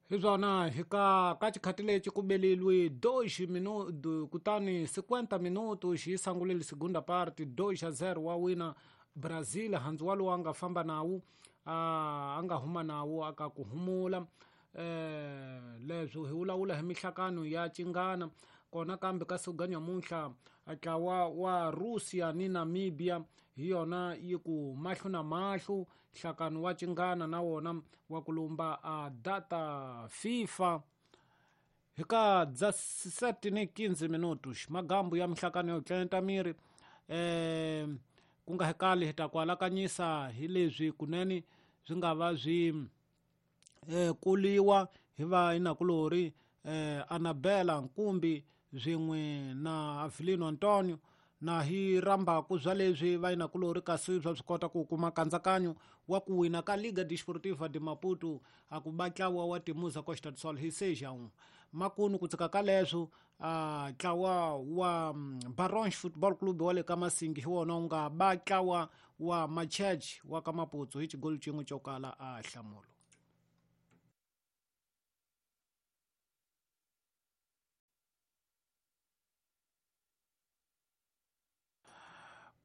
Hi swona hi ka xikhati lexi ku beleliwe 2 minuto kutani 50 minuto xi sangulile segunda parte 2-0 wa wina Brazil handzu walowo a nga famba nawu a nga huma nawu aka ku humula leswo hi vulavula hi mihlakano ya cingana kona kambe ka siku ga nyamuntlha ntlawa wa Russia ni Namibia hi yona yi ku mahlo na mahlo nhlakano wa cingana na wona wa ku lumba a data FIFA hi ka 17:15 minutos magambu ya mihlakano yo tlenta miri ku nga hekali hi ta ku alakanyisa hi leswi kunene swi nga va swi kuliwa hi va inakulori Anabela Nkumbi swin'we na Avelino Antonio na hi rambaku bya leswi va inakulori kasi bya swi kota ku kuma nkatsakanyo wa ku wina ka Liga Desportiva de Maputo a ku ba ntlawa wa Temuza Costa do Sol hi 6-1 makunu ku tsika ka leswo ntlawa wa Barons Football Club wa le ka Masingi hi wona wu nga ba ntlawa wa Machurch wa ka Maputsu hi xigolo xin'we xo kala a hlamulo.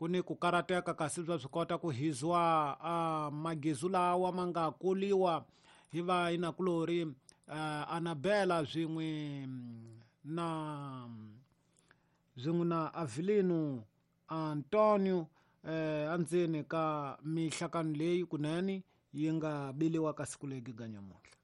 Ku ni ku karateka kasi bya swi kota ku hizwa magezu lawa ma nga kuliwa hi va inakulori Anabela swin'we na Avelino Antonio endzeni ka mihlakano leyi kunene yi nga beliwa ka siku leri ga nyamuntlha.